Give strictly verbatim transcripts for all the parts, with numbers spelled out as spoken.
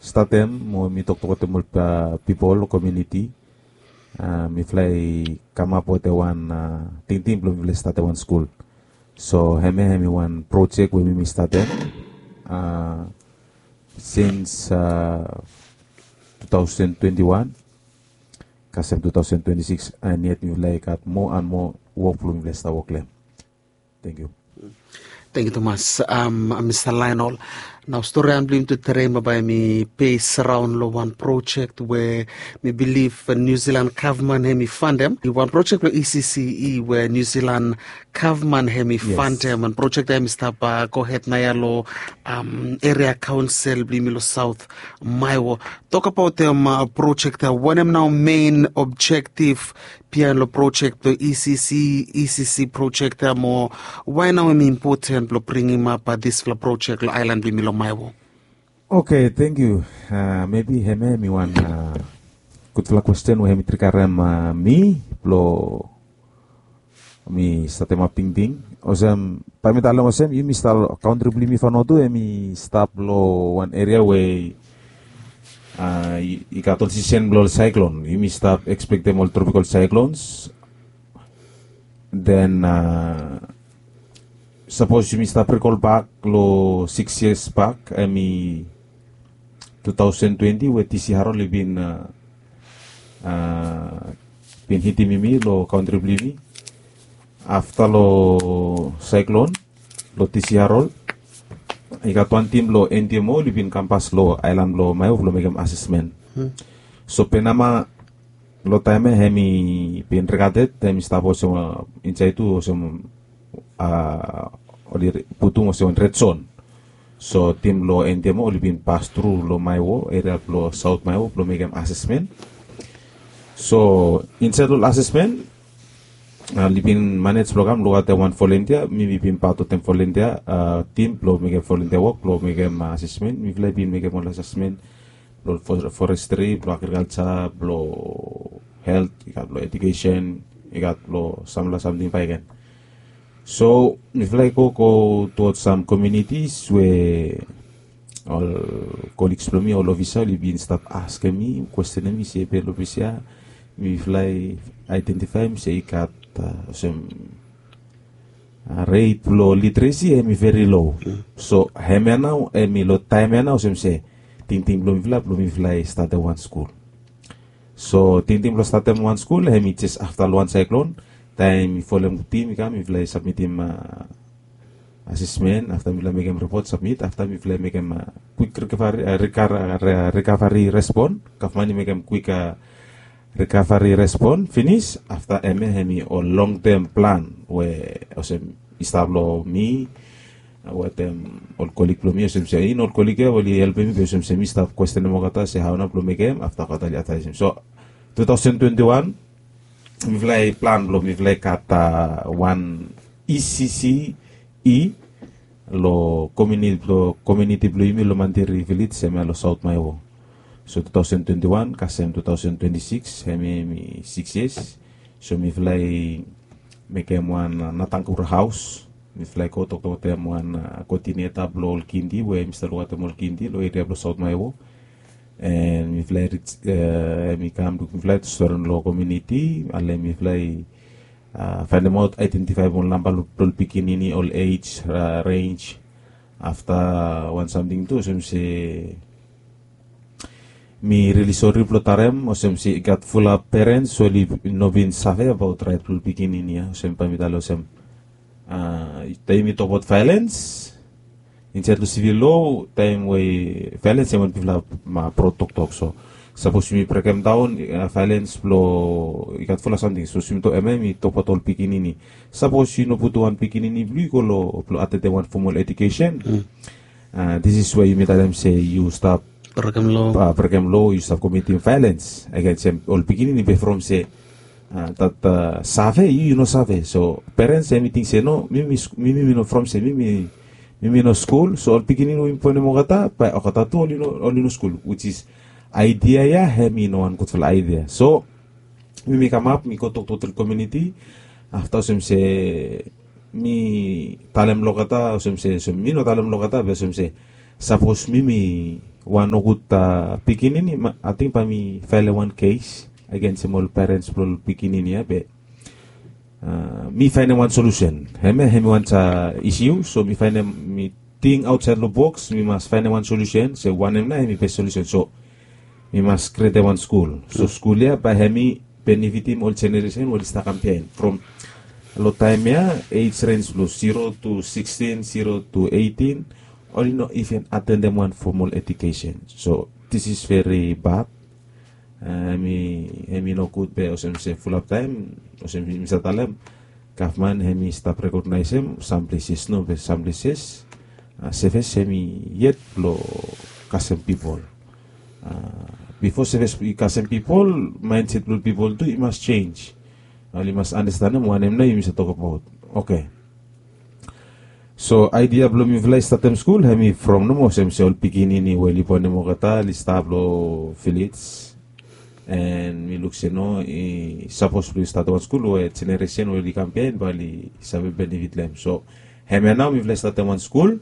statem mo mi toktok wetem ol pipol komuniti. Mifala i kamap wetem wan tingting blong mifala i statem wan skul. So hemia hemi wan projek we mi mi statem sins two thousand twenty one kasem two thousand twenty six. And yet mifala i gat moa and moa wok blong mifala i stap wok long hem. Thank you. Thank you tumas. Mista Lainol, nao stori an blong yumi tu terei ma bae mi pes raon long wan projek we mi bilif New Zealand gavman hem i fandem. Wan projek blong E C C E we New Zealand gavman hem i fandem, and projek ya hem i stap gohed naoia long eria kaonsel blong yumi long Saot Maewo. Tokabaot hem projek ya, wanem nao mein objektif biaen long projek blong E C C, E C C projek ya, mo wae nao hem i impoten blong bringimap disfala projek long aelan blong yumi long Maewo? Oke, thank you. Mebi hemia hem i wan gudfala kwesten we hem i trigarem mi blong mi statemap tingting. Olsem bae mi talem olsem, yumi stap, kantri blong yumi Vanuatu hem i stap long wan eria we i gat ol sisen blong ol saeklon. Yumi stap ekspektem ol tropikal saeklons. Den sapos yumi stap rikol bak long sikis yias bak, hem i two thousand twenty we T C Harold i bin bin hitim yumi long kantri blong yumi. Afta long saeklon long T C Harold, i gat wan tim blong N D M O oli bin kampas long aelan blong Maewo blong mekem asesmen. So Penama long taem ya hem i bin regated, hem i stap olsem insaed tu olsem oli putum olsem wan red zon. So tim blong N D M O oli bin pas tru long Maewo, eria blong Saot Maewo blong mekem asesmen. So insaed long asesmen oli bin manej blong kam lukaotem wan volontia. Mi mi bin pat wetem volontia tim blong mekem volontia wok blong mekem asesmen. Mifala i bin mekem ol asesmen blong forestri, blong agrikalja, blong helt, i gat blong edukesen, i gat blong samfala samting bakegen. So mifala i go go tuwod sam komunitis we ol koligs blong mi, ol ofisa oli bin stap askem mi, kwestenem mi se be long ples ya mifala i aedentifaem se i gat olsem ret blong literesi hem i veri lo. So hemia nao hem i long taem ya nao olsem se tingting blong mifala blong mifala i statem wan skul. So tingting blong statem wan skul hem i jes afta long wan saeklon, taem mi folem tim i kam, mifala i sabmitim asesmen, afta mifala i mekem ripot, sabmit, afta mifala i mekem kwik rikavari respon. Gavman i mekem kwik rikavari respon finis. Afta hemia hem i ol longtem plan we olsem i stap long mi wetem ol kolig blong mi, olsem se in ol kolig ya oli helpem mi be olsem se mi stap kwestenem olgeta se hao nao blong mekem, afta olgeta oli advaesem. So two thousand twenty one mifala i plan blong mifala i gat wan E C C E long komuniti blong yumi long Mandiri Vilej hemia long Saot Maewo. So two thousand twenty one kasem two thousand twenty six hemia hem i sikis yias. So mifala i mekem wan natangura haos. Mifala i go toktok wetem wan koodineta blong ol kindi we hem i stap lukaotem ol kindi long eria blong Saot Maewo. And mifala i rij, hem i kam, mifala i stori long komuniti, ale mifala i faenemaot, aedentifaem ol namba blong ol pikinini, ol ej renj. Afta wan samting tu olsem se mi rili sori blong talem olsem se i gat fulap perens we oli no bin save abaot raet blong ol pikinini ya, olsem bae mi talem olsem taem yumi tokbaot vaelens insaed long sivil lo, taem we vaelens hem wanem bifala proud toktok. So sapos yumi brekemdaon vaelens blong, i gat fulap samting. Sapos yumi tok, hemia yumi tokbaot ol pikinini. Sapos yu no putum wan pikinini blong yu i go long blong atendem wan fomal edukesen, this is where yumi talem se yu stap brekem lo, yu stap komitim vaelens agensem ol pikinini be from se dat save, yu yu no save. So perens hem i ting se no, mi mi mi no from se mi mi mi mi no skul. So ol pikinini we yumi bonem olgeta bae olgeta tu oli no skul, which is aedia ya hem i no wan gudfala aedia. So mi mi kamap mi go toktok wetem komuniti. Afta olsem se mi talem long olgeta olsem se, mi no talem long olgeta be olsem se sapos mi mi wan nogud pikinini, ating bae mi faelem wan kes agensim ol perens blong ol pikinini ya be mi faenem wan solusen. Hemia hemi wan isiu, so mi faenem, mi ting aotsaed long boks, mi mas faenem wan solusen se wanem nao hemi bes solusen. So mi mas krietem wan skul, so skul ya bae hemi benefitim ol jeneresen we oli stap kam biaen. From long taem ya, ej rens blong zero to sixteen, zero to eighteen, oli no iven atendem wan formal ejukesen. So this is very bad. Hemi nogud be olsem se fulap taem, olsem mi save talem, gavman hemi stap rekognaesem sam pleses, no be sam pleses sevis hemi yet blong kasem pipol. Bifo sevis i kasem pipol, maenset blong pipol tu i mas jenis. Oli mas andastanem wanem nao yumi save tokbaot. Oke. So aedia blong mifala i statem skul hemi from nomo olsem se ol pikinini we oli bonem olgeta oli stap long vilej. An mi luk se no, i sapos blong yu statem wan skul we jeneresen we oli kam biaen bae oli save benefit long hem. So hemia nao mifala i statem wan skul.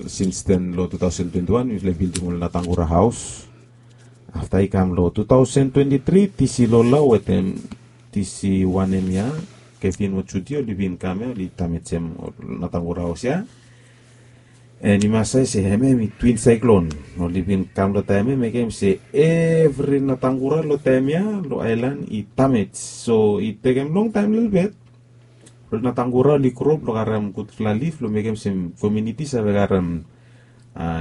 Sinsten long two thousand twenty-one mifala i bildim ol Natangura haos. Afta i kam long two thousand twenty-three, tisi Lola wetem tisi wanem ya, Kevin mo Judy oli bin kam ya, oli damejem ol Natangura haos ya. An i mas save se hemia hemi twin saiklon. Oli bin kam long taem ya mekem se evri Natangura long taem ya long aelan i damej. So i tekem longtaem lelebet blong Natangura oli gro blong karem gudfala lif blong mekem se komuniti save karem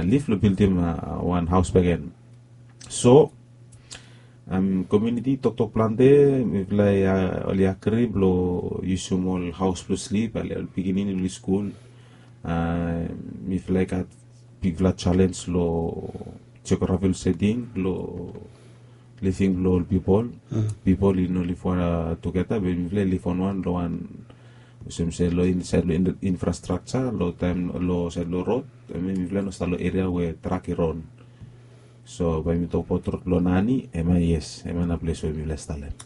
lif blong bildim wan haos bakegen. So komuniti i toktok plante, mifala i oli agri blong yusum ol haos blong slip, ale ol pikinini blong skul. Mifala i gat bigfala jalenj long jeografi blong seting blong living blong ol pipol. Pipol i no liv tugeta be mifala i liv wanwan long wan, olsem se long insaed long infrastrakja, long taem long saed long rod, hemia mifala i no stap long eria we trak i ron. So bae mi tokbaot rod blong Nani, hemia yes, hemia nao ples we mifala i stalem.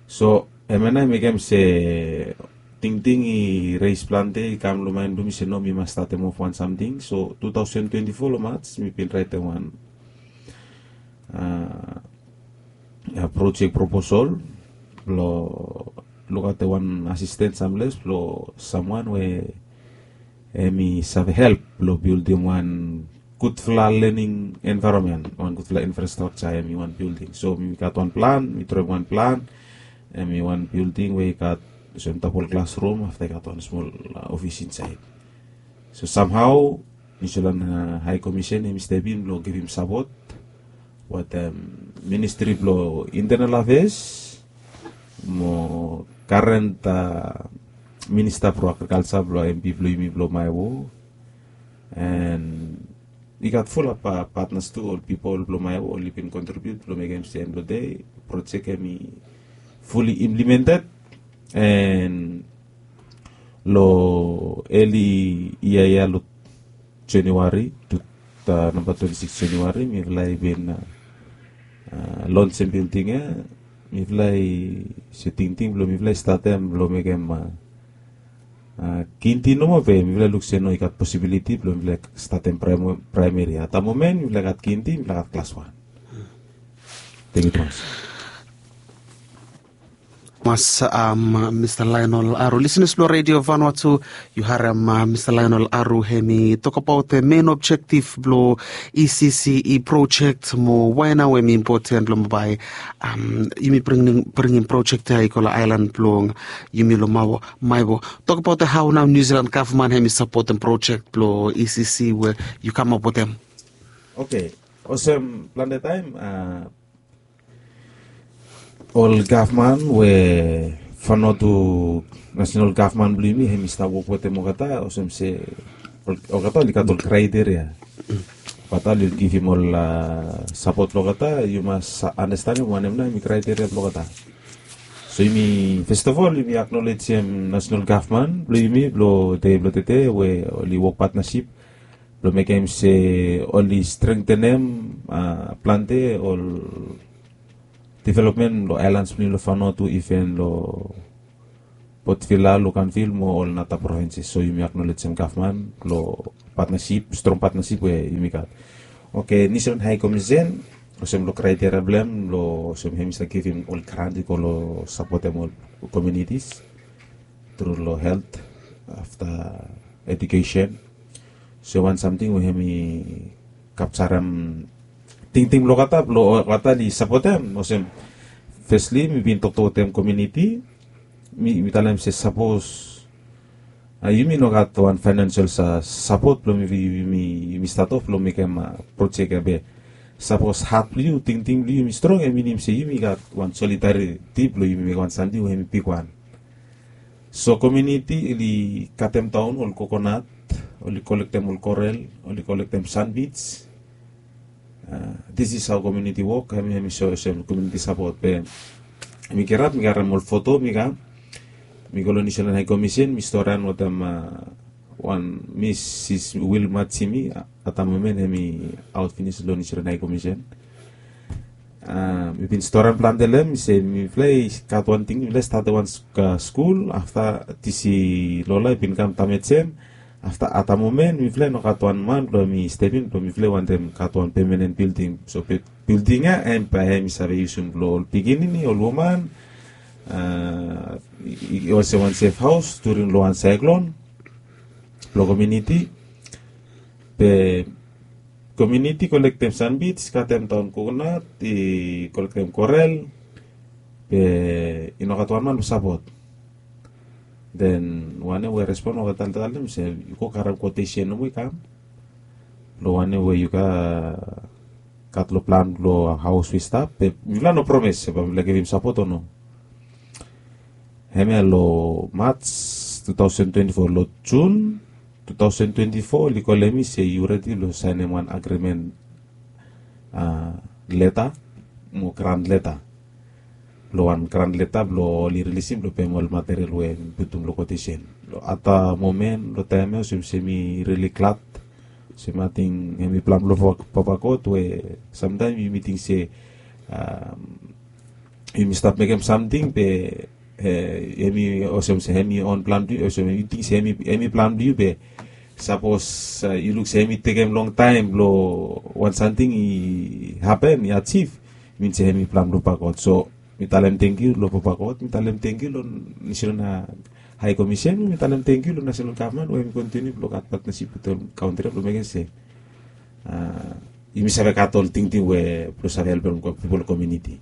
So hemia nao i mekem se tingting i reis plante, i kam long maen blong mi se no, mi mas statem of wan samting. So two thousand twenty-four long Maj mi bin raetem wan projek proposal blong lukaotem wan asisten samles blong samwan we hemi save help blong bildim wan gudfala lening envaeronmen, wan gudfala infrastrakja, hemi wan bilding. So mi gat wan plan, mi droem wan plan, hemi wan bilding we i gat olsem dabol klasrum, afta i gat wan smol ofis insaed. So samhao Niusilan Hae Komisen hemi step in blong givim sapot wetem Ministri blong Intenal Afeas mo karen minista blong agrikalja blong MP blong yumi blong Maewo. An i gat fulap patnas tu, ol pipol blong Maewo oli bin kontribiut blong mekem se end blong dei projek hemi fuli implimented. An long eli yia ya long Januari, namba twenti sikis Januari, mifala i bin lonsem bilding ya. Mifala i se tingting blong mifala i statem blong mekem kinti nomo be mifala i luk se no, i gat posibiliti blong mifala i statem praemeri. At da momen mifala i gat kinti, mifala i gat klas wan. Tangkiu tumas. Mas Mista Lionel Aru. Lisenas blong Redio Vanuatu, yu harem Mista Lionel Aru hemi tokbaot mein objektif blong ECCE projek mo wae nao hemi impoten blong bae yumi bringim projek ya i go long aelan blong yumi long Maewo. Tokbaot hao nao Niusilan gavman hemi sapotem projek blong ECCE we yu kamap wetem. Oke. Olsem plante taem ol gavman we Vanuatu nasenal gavman blong yumi hemi stap wok wetem olgeta, olsem se olgeta oli gat ol kraeteria. Olgeta oli givim ol sapot blong olgeta, yu mas andastanem wanem nao hemi kraeteria blong olgeta. So yumi festafol yumi aknolejem nasenal gavman blong yumi blong dei blong tede we oli wok patnasip blong mekem se oli strengtenem plante ol developmen long aelans blong yumi long Vanuatu, iven long Port Vila, Luganville mo ol nata provinses. So yumi aknolejem gavman long patnasip, strong patnasip we yumi gat. Oke, Niu Silan Hai Komisen olsem long kraiteria blong hem long olsem hem i save givim ol grant i go long sapotem ol komunitis tru long helt, afta edukesen. So wan samting we hem i kapjarem tingting blong olgeta blong olgeta oli sapotem olsem, fesli mi bin toktok wetem komuniti, mi talem se sapos yumi no gat wan fainensel sapot blong yumi stat of blong mekem projek ya be sapos hat blong yu, tingting blong yu yumi strong, em minim se yumi gat wan solidariti blong yumi mekem wan samting we hem i bigwan. So komuniti oli katem daon ol kokonat, oli kolektem ol korel, oli kolektem sanbij. This is hao komuniti wok hem i so olsem komuniti sapot be mi kirap mi karem ol foto mi kam, mi go long Niu Silan Hai Komisen mi storan wetem wan Misis Wilma Jimi, atamomen hem i aot finis long Niu Silan Hai Komisen. Mi bin storan plante long hem se mifala i gat wan ting mifala i statem wan skul afta disi lola i bin kam damejem. Afta atamomen mifala i no gat wan man blong hem i stepin blong mifala i wantem gat wan pemanen bilding. So bilding ya hem bae hem i save yusum blong ol pikinini, ol woman, i olsem wan sef haos during long wan saeklon blong komuniti. Be komuniti kolektem sanbij, katem daon kokonat, i kolektem korel, be i no gat wan man blong sapot. Den wanem we respon we taltalem se yu go karem kotesen nomo i kam long wanem we yu gat long plan blong haos we i stap, be mifala no promes se bae mifala givim sapot o no. Hemia long Maj tu taosen twenti fo, long Jun tu taosen twenti fo oli kolem mi se yu redi blong saenem wan agrimen leta mo gran leta, blong wan gran leta blong oli rilisim blong pem ol material we mi putum long kotesen. Long ata momen long taem ya olsem se mi rili glad olsem ating hemi plan blong Papa God we samtaem yumi ting se yumi stap mekem samting be hemi olsem se hemi on plan blong yu, olsem yu ting se hemi plan blong yu be sapos yu luk se hemi tekem longtaem blong wan samting i hapen, i ajiv, min se hemi plan blong Papa God. So mi talem tangkiu long Papa God, mi talem tangkiu long Niu Silan Hai Komisen, mi talem tangkiu long nasenal gavman we hemi kontiniu blong gat patnasip wetem kaontri ya blong mekem se yumi save gat ol tingting we blong save helpem pipol komuniti.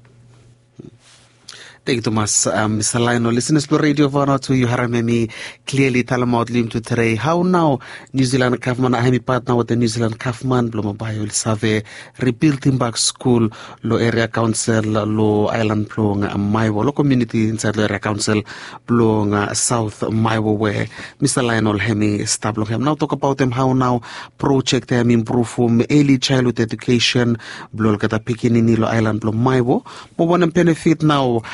Tangkiu tumas. Mista Laenol, lisenas blong redio Vanuatu, yu harem hemi kliali talemaot long yumi tude hao nao Niu Silan gavman, hemi patna wetem Niu Silan gavman blong bae oli save ribildim bak skul long eria kaonsel long aelan blong Maewo, long komuniti insaed long eria kaonsel blong Saot Maewo we Mista Laenol hemi stap long hem. Nao tokbaotem hao nao projek ya hemi impruvum eli jaelhud edukesen blong olgeta pikinini long aelan blong Maewo, mo wanem benefit nao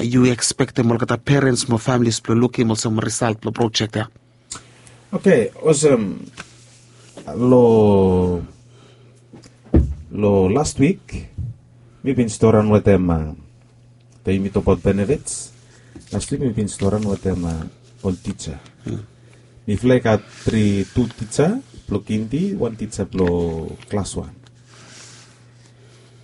yu ekspektem olgeta perens mo familis blong lukim olsem wan risalt blong projek ya? Oke, olsem long las wik mi bin storan wetem, taem yumi tokbaot benefits, las wik mi bin storan wetem ol tija. Mifala i gat tri, tu tija blong kindi, wan tija blong klas wan.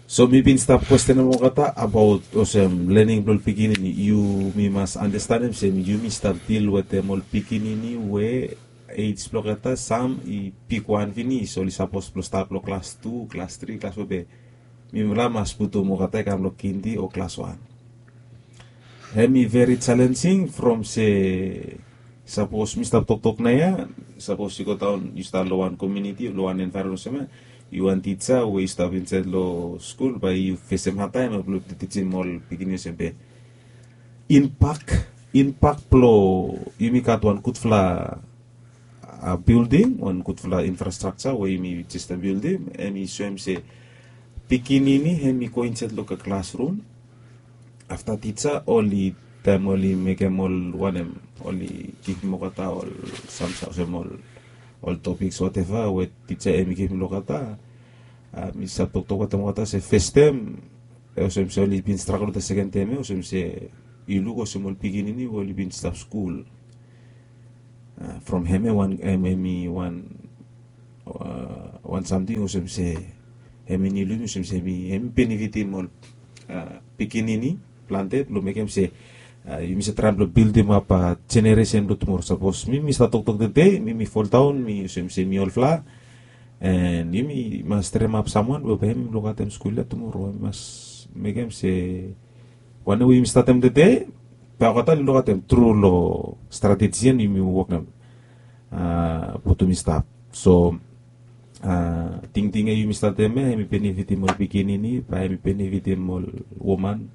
So mi bin stap kwestenem olgeta abaot olsem lening blong ol pikinini. Yumi mas andastanem se yumi stap dil wetem ol pikinini we ej blong olgeta sam i bigwan finis, oli sapos blong stat long klas tu, klas tri, klas fo be mifala mas putum olgeta i kam long kindi o klas wan. Hemi veri jalenjing from se sapos mi stap toktok naoia, sapos yu godaon yu stap long wan komuniti o long wan envaeronmen olsem ya, yu wan tija we yu stap insaed long skul bae yu fesem hadtaem blong tijim ol pikinini olsem be impak, impak blong yumi gat wan gudfala bilding, wan gudfala infrastrakja we yumi jes bildim, hemi soem se pikinini hemi go insaed long klasrum. Afta tija oli, taem oli mekem ol wanem, oli givim olgeta ol samting olsem ol topiks wateva we tija hemi givim long olgeta. Mi stap toktok wetem olgeta se fastaem olsem se oli bin stragol wetem seken tem ya, olsem se yu luk olsem ol pikinini we oli bin stap skul from hemia wan, hemi wan wan samting olsem se hemi niu long yumi olsem se hemi benefitim ol pikinini plante blong mekem se yumi save traem blong bildimap jeneresen blong tumora. Sapos mi mi stap toktok tede mi mi foldaon mi olsem se mi olfala, and yumi mas tremap samwan we bae hemi lukaotem skul ya tumora. Hemi mas mekem se wanem we yumi statem tede bae olgeta oli lukaotem tru long strateji ya yumi wokem. Putum i stap so tingting ya yumi statem ya hemi benefitim ol pikinini bae hemi benefitim ol woman.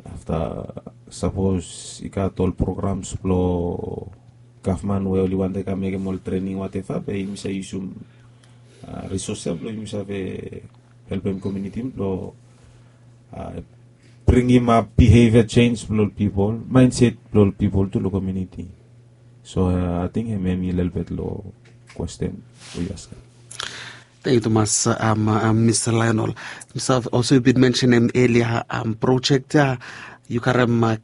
Afta sapos i gat ol programs blong gavman we oli wantem kam mekem ol trening wateva bae yumi save yusum risos ya blong yumi save helpem kominiti blong bringimap bihevia jenj blong ol pipol, maenset blong ol pipol tu long kominiti. So ating hemi lelebet long kwesten we yu askem. Tengkiu tumas. Mista Laenol, mista olso yu bin mensenem elia projek ya yu karem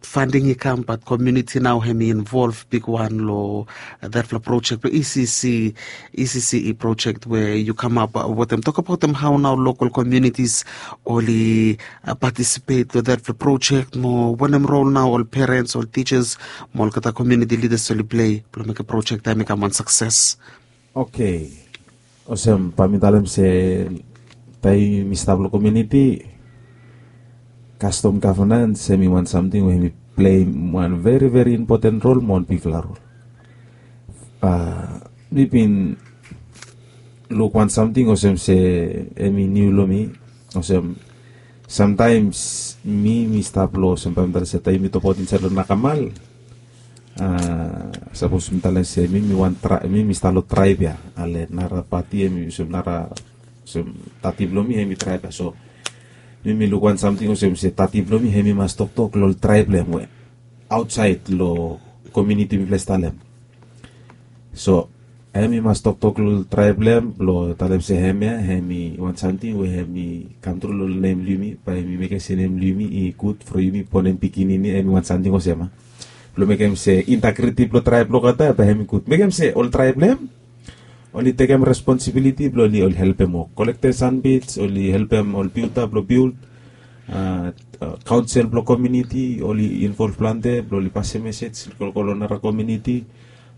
fanding i kam bat komiuniti nao hemi involv bigwan long datfala projek blong ecc ecc projek we yu kamap wetem tokabaotem hao nao lokal komiunitis oli patisipet long datfala projek mo wanem rol nao ol perens ol tijas mo olgeta komiuniti lidas oli pilei blong mekem projek taem i kam wan sakses? Oke, olsem bae mi talem se taem yumi stap long komiuniti kastom gavnans hemi wan samting we hemi pleim wan veri veri impoten rol mo wan bigfala rol. Mi bin luk wan samting olsem se hemi niu long mi olsem samtaems mi mi stap long olsem bae mi talem se taem yumi tokabaot insaed long nakamal sapos mi talem se mi mi wan trae mi mi stap long traeb ya ale nara pati hemi olsem nara olsem tati blong mi hemi traeb ya so mi mi luk wan samting olsem se tati blong mi hemi mas toktok long ol traeb blong hem we aotsaed long komiuniti mifala i stap long hem. So hemi mas toktok long traeb blong hem blong talem se hemia hemi wan samting we hemi kamtru long nem blong yumi bae hemi mekem se nem blong yumi i gud from yumi bonem pikinini hemi wan samting olsem ya blong mekem se integriti blong traeb blong olgeta bae hemi gud mekem se ol traeb blong hem oli tekem responsibiliti blong oli oli helpem wok kolektem sanbij oli helpem ol bilda blong bild kaonsel blong komiuniti oli involv plante blong oli pasem mesej go long nara komiuniti.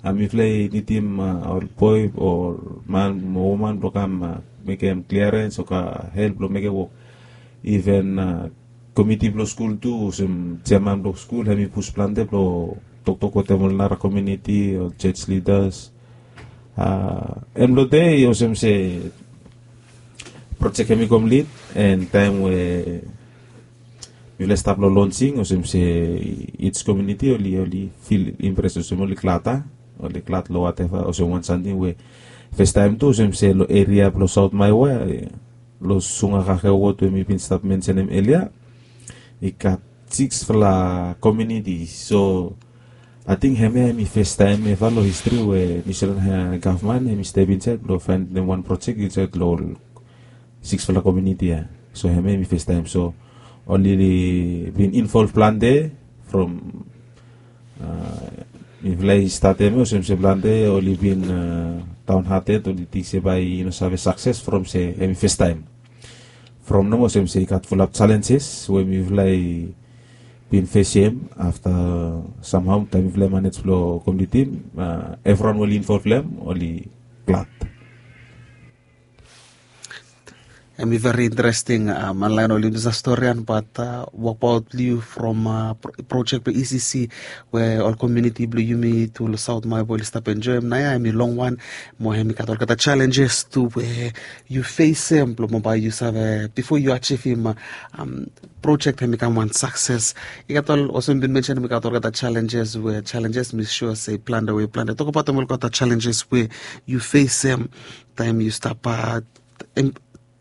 Mifala i nidim ol boe o man mo woman blong kam mekem kliarens o kam help blong mekem wok. Iven komiti blong skul tu olsem jeaman blong skul hem i pus plante blong toktok wetem ol nara komiuniti ol joj lidas. Hem long dei olsem se projek hem i komplit en taem we mifala i stap long lonsing olsem se its komiuniti oli oli fil impres olsem oli glad a oli glad long wateva olsem wan samting we festaem tu olsem se long eria blong saot maewa long sunga kakewot we mi bin stap mensenem elia i gat siksfala komiuniti so ating hemia hem i festaem eva long histri we niusilan gavman hem i step insaed blong faenem wan projek insaed long ol siksfala komiuniti ya. So hemia hem i festaem so oli bin involv plante from mifala i statem ya olsem se plante oli bin daon hated oli ting se bae i no save sakses from se hem i festaem from nomo olsem se i gat fulap jalenjes we mifala i bin fesem afta samhao taem mifala i manej blong komplitim evriwan we oli involv long hem oli glad. Hem i veri interesting. Manlaen oli misa storian bat wokbaot blong yu from projek blong ecc we ol komiuniti blong yumi tu long saot maebo oli stap enjoem naoia hem i longwan mo hem i gat olgeta jalenjes tu we yu fesem blong bambae yu save bifo yu ajivim projek hem i kam wan sakses. I gat ol olsem bin mensenem i gat olgeta jalenjes we jalenjes mi sua se i plante we i plante tokabautem olgeta jalenjes we yu fesem taem yu stap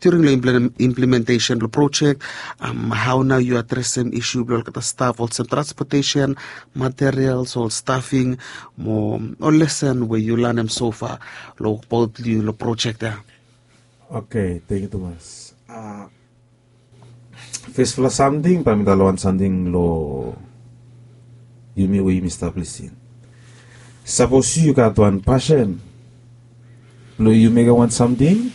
during long implementesen blong projek. Hao nao yu adresem isu blong olgeta staf olsem transpotesen materials ol stafing mo ol lesen we yu lanem sofa long wokbaot blong yu long projek ya? Oke, tengkiu tumas. Fesfala samting bae mi talem wan samting long yumi we yumi stap lisin. Sapos yu yu gat wan pasen blong yu mekem wan samting,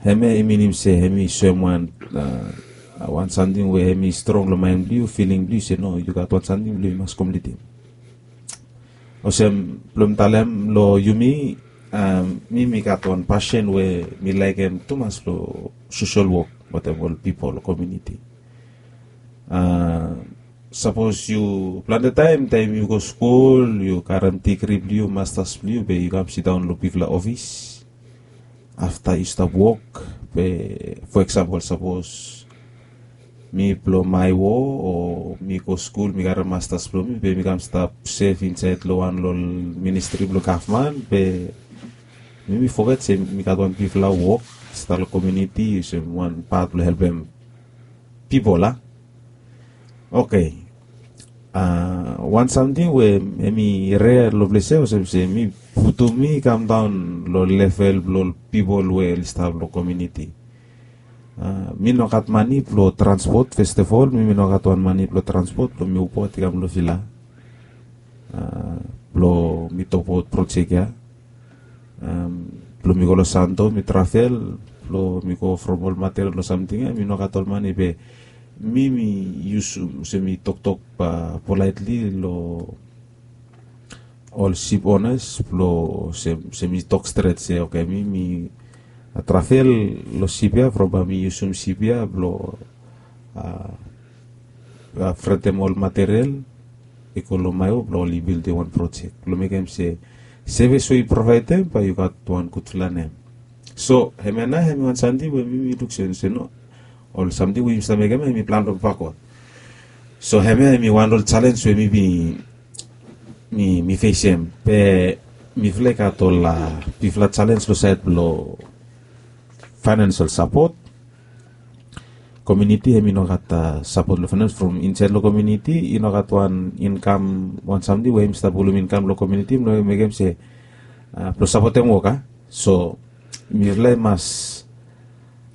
hemia i minim se hemi soem wan, a, wan samting we hemi strong long maen blong yu, filing blong yu se no, yu gat wan samting blong yu mas komplitim. Olsem blong mi talem long yumi, a, mi mi gat wan pasen we mi laekem tumas long sosel wok wetem ol pipol, komuniti. A, sapos yu plante taem, taem yu go skul, yu karem digri blong yu, mastas blong yu, be yu kam sidaon long bigfala ofis. Afta yu stap wok, be fo eksampol, sapos mi blong Maiwo, o mi go skul, mi karem mastas blong mi, be mi kam stap sef insaed long wan long ol ministri blong gavman, be mi mi foget se mi gat wan bigfala wok, stap long komuniti, olsem wan pat blong helpem pipol, a? Oke. A, wan samting we hemi rea long ples ya, olsem se mi putum mi kamdaon long level blong ol pipol we oli stap long komuniti. A, mi no gat mane blong transpot, first of all, mi mi no gat wan mane blong transpot blong mi Ubot i kam long vila. A, blong mi tokbaot projek ya. Am, blong mi go long Santo, mi travel, blong mi go from ol material long samting ya, mi no gat ol mane, be mi mi yusum, olsem mi toktok, a, polaetli long ol sip onas blong, olsem, olsem mi tok stret se, oke, mi mi, a, travel long sip ya, from bae mi yusum sip ya blong, a, a, fretem ol material i go long Maiwo blong oli bildim wan projek blong mekem se sevis we yu provaedem bae yu gat wan gudfala nem. So hemia nao hemi wan samting we mi mi luk se, se no, ol samting we yumi stap mekem ya hemi plan blong bakot. So hemia hemi wan ol jalenj we mi bin, mi, mi fesem. Be mifala i gat ol, a, bigfala jalenj long saed blong financial support. Komuniti hemi no gat, a, sapot long faenans from insaed long komuniti, i no gat wan inkam, wan samting we hemi stap pulum inkam long komuniti blong mekem se, a, blong sapotem wok, a. So mifala i mas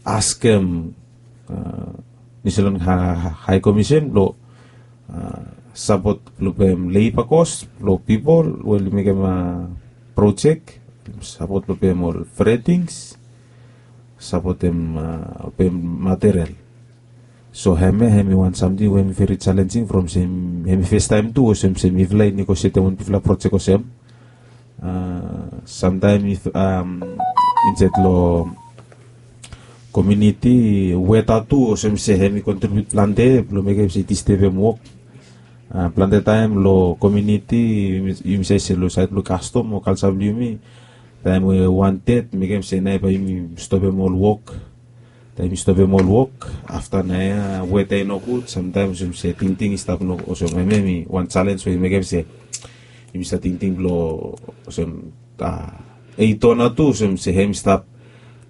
askem, a, New Zealand Ha-, Ha-, High Commission blong, a, sapot blong pem labor cost blong pipol we oli mekem, a, projek, sapot blong pem ol fretings, sapotem, a, pem material. So hemia hemi wan samting we hemi veri jalenjing from se hemi festaem tu olsem se mifala i negosietem wan bigfala projek olsem. A, samtaem if, am, insaed long komuniti, weta tu olsem se hemi kontribiut plante blong mekem se i distebem wok. A, plante taem long komuniti, yumi, yumi save se long saed blong kastom o kalja blong yumi, taem we wan ded mekem se nao bae yumi stopem ol wok. Taem yumi stopem ol wok, afta nao ya weta i nogud, samtaem olsem se tingting i stap no, olsem hemia hemi wan jalenj we i mekem se yumi stap tingting blong, olsem, a, eito nao tu, olsem se hemi stap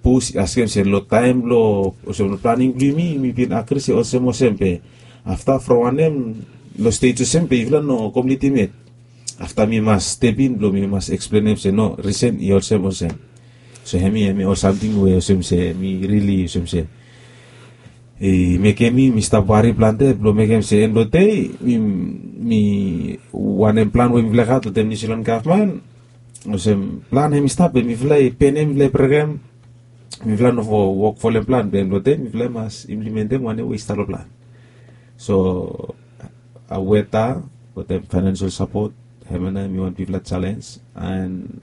pus, askem se long taem blong, olsem long planing blong yumi, mi bin agri se olsem olsem, be afta from wanem, long stej olsem be yufala no komplitim yet. Afta mi mas step in blong mi mas eksplenem se no, risen i olsem olsem. So hemi, hemi ol samting we olsem se mi rili olsem se i mekem mi, mi stap wari plante blong mekem se end blong dei mi, mi wanem plan we mifala i gat wetem New Zealand gavman. Olsem plan hemi stap be mifala i penem, mifala i brekem, mifala no fo wok folem plan, be end blong dei mifala i mas implimentem wanem we i stap long plan. So, a, weta wetem financial support, hemia nao hemi wan bigfala jalenj, and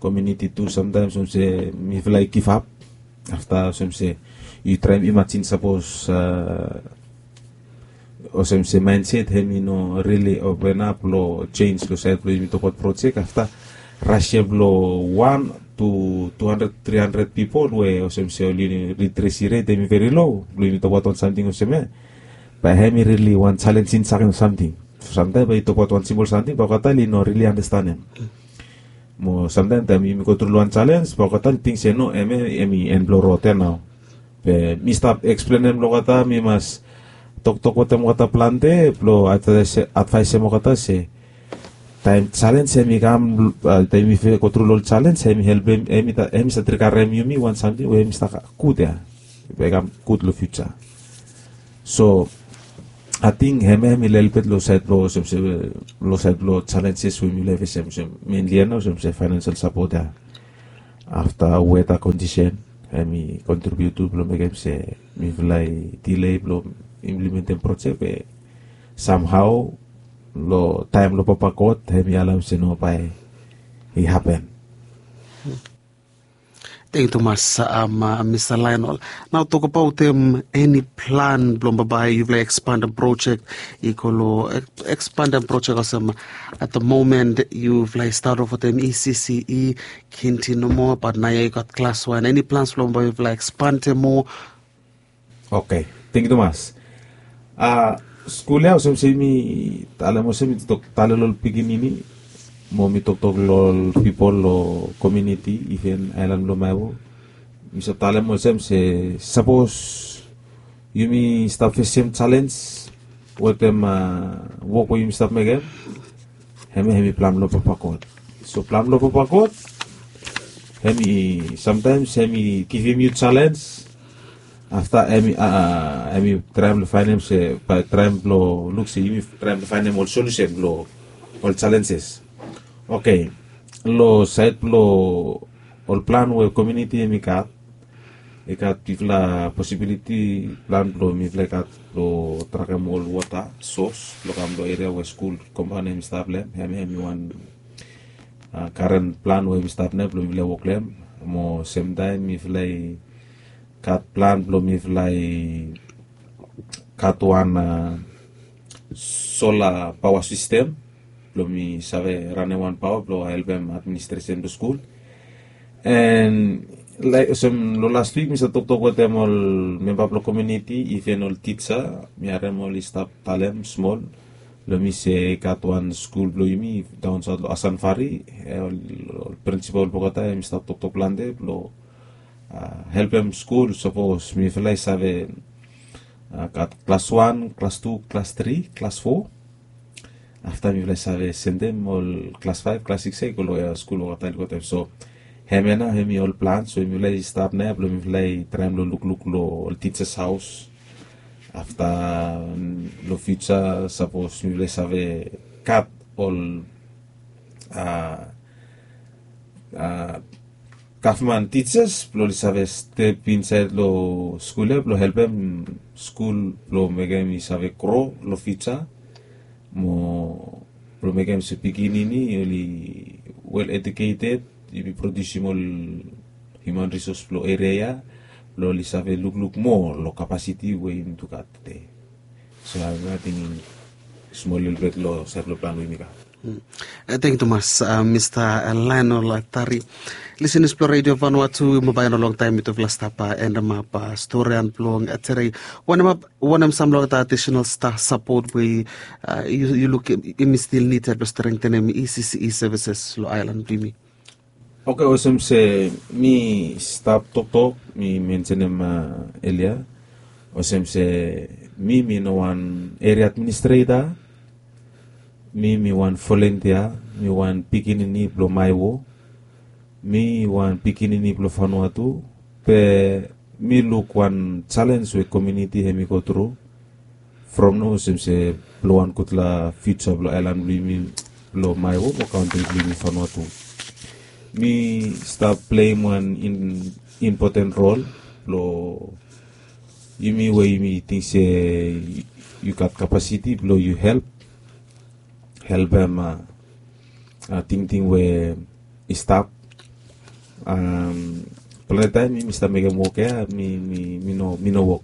komuniti tu samtaem olsem se mifala i givap. Afta olsem se yu traem imajin sapos, a, olsem se mindset hemi no rili open ap long jenis long saed blong yumi tokbaot projek, afta ras ya blong wan tu tu handred, tri handred pipol we olsem se oli literacy rate hemi veri low blong yumi tokbaot wan samting olsem ya. Bae hemi rili wan jalenjing samting. Samtaem bae yu tokbaot wan simpol samting bae olgeta oli no rili andastanem. Mo samtaem taem yumi go tru long wan jalenj bae olgeta oli ting se no, hemia hemi end blong rod ya nao. Be mi stap eksplenem long olgeta, mi mas toktok wetem olgeta plante blong advaes-, advaesem olgeta se taem jalenj hemi kam, a, taem yumi go tru long ol jalenj hemi helpem, hemi stap, hemi stap trigarem yumi wan samting we hemi stap gud ya, bae i kam gud long fiuja. So ating hemia hemi lelebet long saed blong olsem se, long saed blong jalenjes we mifala i fesem, olsem menli ya nao olsem se financial support ya. Afta weta kondisen, hemi kontribiut tu blong mekem se mifala i dile blong implementem projek be samhao long taem blong Papa God hemi alaem se no bae i hapen. Teng tumas, mista Laenol. Nao tokabaotem eni plan blong bambae yufala i ekspandem projek i go long ekspandem projek olsem, at the moment yufala i stat of wetem E C C E, kinti nomo, bat naoia i gat klas wan. Eni plans blong bambae yufala i ekspandem moa? Oke, tengkiu tumas. A skul ya olsem se mi talem olsem mi toktok tale long ol pikinini mo mi toktok long ol pipol long kominiti iven aelan blong maewo. Mi save talem olsem se sapos yumi stap fesem jalens wetem wok we yumi stap mekem, hemia hemi plan blong Papa God. So plan blong Papa God hemi samtaems hemi givim yu jalens. Afta hemi traem blong faenem se bae traem blong luk se yumi traem blong faenem ol solusen blong ol jalenses. Oke, long saed blong ol plan we kominiti hemi gat, i gat bigfala posibiliti plan blong mifala i gat blong trakem ol wota sos blong kam long eria we skul kompaon hemi stap long hem. Hemi wan karen plan we hemi stap nao blong mifala i wok long hem. Mo semtaem mifala i gat plan blong mifala i gat wan sola paoa sistem blong mi save ranem wan paoa blong helpem administresen blong skul. An laek olsem long las wik mi save toktok wetem ol memba blong kominiti iven ol tija. Mi harem oli stap talem smol long mi se i gat wan skul blong yumi daon saot long Asanvari. Ol prinsipol blong olgeta hemi stap toktok plante blong helpem skul sapos mifala i save gat klas wan, klas tu, klas tri, klas fo. Afta mifala i save sendem ol klas faef, klas sikis ya i go long skul olgeta oli go taem. So hemia nao hemi ol plan. So mifala i stap nao blong mifala i traem long lukluk long ol tijas haos. Afta long fiuja sapos mifala i save gat ol gavman tijas blong oli save step insaed long skul ya blong helpem skul blong mekem i save gro long fiuja. Mo blong mekem se pikinini oli wel eduketed, yumi produsim ol hiuman risos blong eria ya blong oli save lukluk moa long kapasiti we yumi tu gat tede. So ating smol lelebet long saed blong plan we yumi gat. Tengkiu tumas, mista Laenol Tari. Lisenas blong Redio Vanuatu, bambae no longtaem mitufala stap endemap storian blong tede. Wanem sam long olgeta adisenal sapot we yu lukim i still nided blong strengtenem E C C E sevises long aelan blong yumi? Oke, olsem se mi stap toktok mi mensenem elia, olsem se mi mi no wan eria administreta. Mi mi wan volentia, mi wan pikinini blong maewo. Mi wan pikinini blong Vanuatu. Be mi luk wan jalens we kominiti hemi go tru from nao olsem se blong wan gudfala fiuja blong aelan blong yumi blong maewo mo kantri blong yumi Vanuatu. Mi stap pleim wan impoten rol blong yumi we yumi ting se yu gat kapasiti blong yu help helpem tingting we i stap. Plante taem mi mi stap mekem wok ya mi mi mi no mi no wok.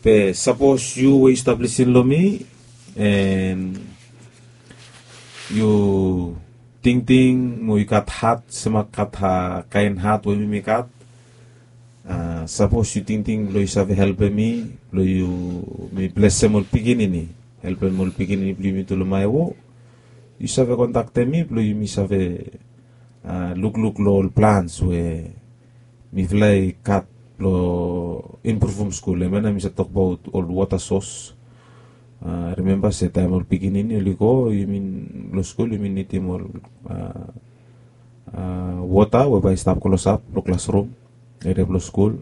Be sapos yu we yu stap lisin long mi an yu tingting mo yu gat hat, sema gat kaen hat we mi mi gat. Sapos yu tingting blong yu save helpem mi blong yu mi blesem ol pikinini, helpem ol pikinini blong yumi tu long maewo, yu save kontaktem mi blong yumi save lukluk long ol plans we mifala i gat blong impruvum skul. Hemia nao mi save tokbaot ol wota sos. Rimemba se taem ol pikinini oli go yumi long skul yumi nidim ol wota we bae i stap klosap long klasrum, eria blong skul.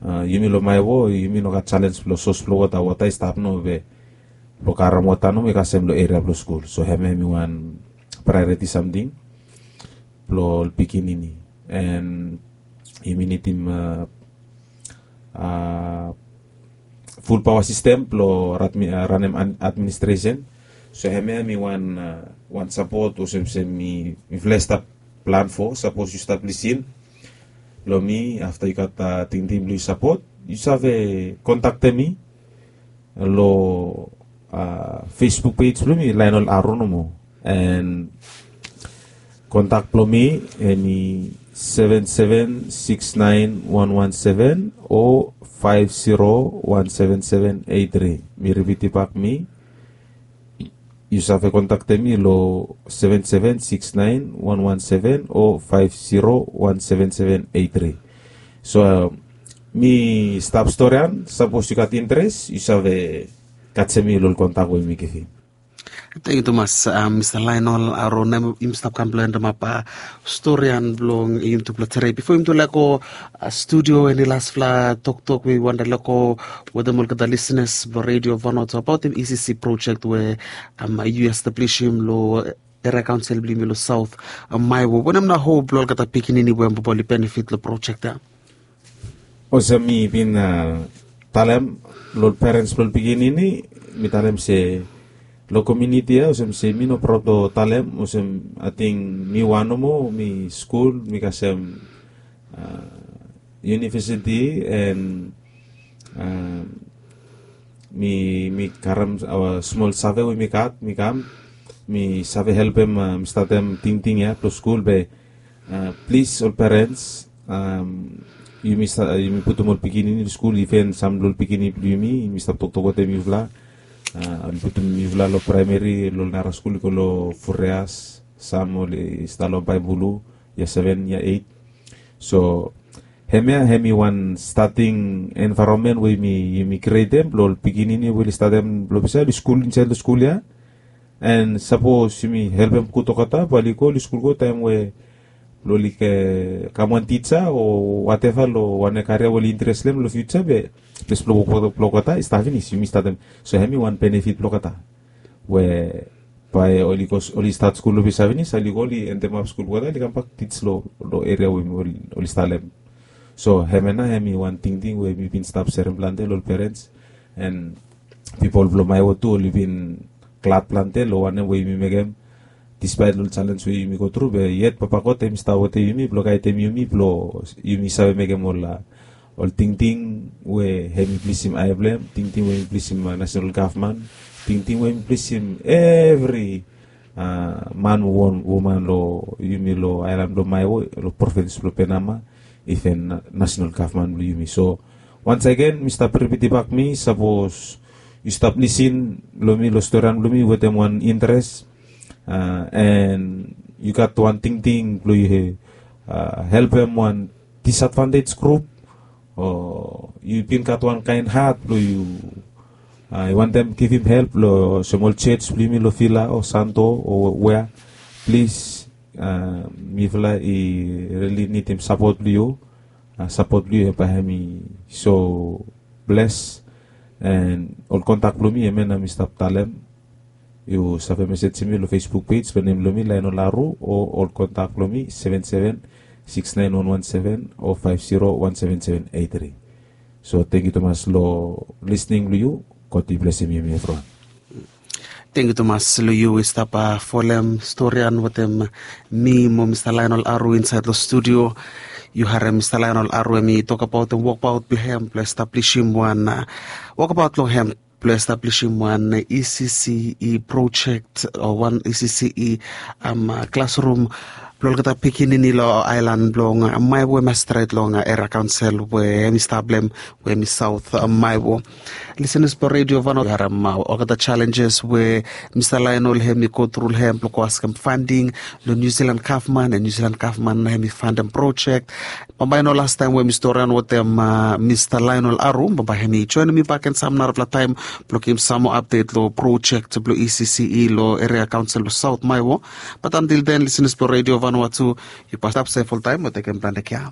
Yumi long maewo yumi no gat jalens blong sos blong wota, wota i stap nao be blong karem wota nomo i kasem long eria blong skul. So hemia hemi wan praeoriti samting blong ol pikinini. And yumi nidim ful paoa sistem blong ranem administresen. So hemia mi wan sapot olsem se mifala i stap plan fo sapos yu stap lisin long mi afta yu gat tingting blong yu sapot, yu save kontaktem mi long Facebook pej blong mi, Lionel Aro nomo. And kontak blong mi hemi seven seven six nine one one seven o five zero one seven seven eight three. Mi ripitibak mi, yu save kontaktem mi long seven seven six nine one one seven o five zero one seven seven eight three. So mi stap storian, sapos yu gat interes yu save kasem mi long ol kontak we mi givim. Tengyu tumas, Mista Lainol Aro, na yumi stap kam blong endemap storian blong yumi tupela tede. Bifo yumi tu lego studio, eni lasfala toktok we yu wanta lego wetem olgeta lisenas blong redio Vanuatu abaotem E C C projek we yu establisim long eria kaonsel blong yumi long Saut Maewo? Wanem na hop blong olgeta pikinini we bae oli benefit long projek ya? Olsem mi bin talem long ol perens blong ol pikinini, mi talem se long komuniti ya olsem se mi no praod long talem olsem ating mi wan nomo mi skul mi kasem univesiti and mi mi karem smol save we mi gat mi kam mi save helpem mi statem tingting ya blong skul be plis ol perens, yumi putum ol pikinini long skul, iven sam long ol pikinini blong yumi yumi stap toktok wetem yufala. Oli putum yufala long praemeri long ol nara skul i go long Fureas, sam oli stap long Baibulu, yia seven yia eit. So hemia hemi wan stating envaeronmen we yumi krietem blong ol pikinini we oli statem long ples ya oli skul insaed long skul ya. And sapos yumi helpem gud olgeta bae oli go oli skul go taem we blong oli kam wan tija o wateva long wane karia we oli interes long hem long fiuja be ples blong wok blong olgeta i stap finis yumi statem. So hemi wan benefit blong olgeta we bae oli go oli stat skul long ples ya finis oli go oli endemap skul blong olgeta oli kambak tij long eria we oli stalem. So hemia na hemi wan tingting we mi bin stap serem plante long ol perens and pipol blong Maewo tu oli bin glad plante long wanem we yumi mekem. Dispaet long ol jalens we yumi go tru be yet Papa God hemi stap wetem yumi blong gaedem yumi blong yumi save mekem ol ol tingting we hemi plesim ae blong hem, tingting we hemi plesim nasenal gavman, tingting we hemi plesim evri man o woman long yumi long aelan blong Maewo long provins blong Penama, iven nasenal gavman blong yumi. So wansagen mi stap ripitibak mi sapos yu stap lisin long mi long storian blong mi wetem wan interes and yu gat wan tingting blong yu helpem wan disadvantej grup o yu bin gat wan kaen hat blong yu wantem givim help long olsem ol jos blong yumi long Vila o Santo o wea, plis mifala i rili nidim sapot blong yu. Sapot blong yu bae hemi so bles. And ol kontak blong mi hemia na mi stap talem. Yu save mesejem mi long Facebook pej blong nem blong mi Lainol Aru o ol kontak blong mi seven seven six nine one one seven o five zero one seven seven eight three. So tengyu tumas long lisning blong yu. God i blesim yumi evriwan. Tengyu tumas long yu i stap folem storian wetem mi mo Mista Lainol Aru insaed long studio. Yu harem Mista Lainol Aru hemi tokbaot wokabaot blong hem blong establisim wan wokabaot long hem blong establisim wan E C C E projek o wan E C C E klasrum blong olgeta pikinini long aelan blong Maewo hemia stret long eria kaonsel we hemi stap long hem we hemi Saot Maewo. Lisenas blong redio Vanuatu yu harem olgeta jalenjes we Mista Lainol hemi go tru long hem blong go askem fanding long Niu Silan gavman and Niu Silan gavman na hemi fandem projek. Bambae i no lastaem we mi storian wetem Mista Lainol Aru, bambae hemi joenem mi bakegen sam narafala taem blong givim sam moa apdet long projek blong E C C E long eria kaonsel blong Saot Maewo. Bat antil den lisenas blong redio Vanuatu, yu mas stap sef oltaem o tekem plante kea.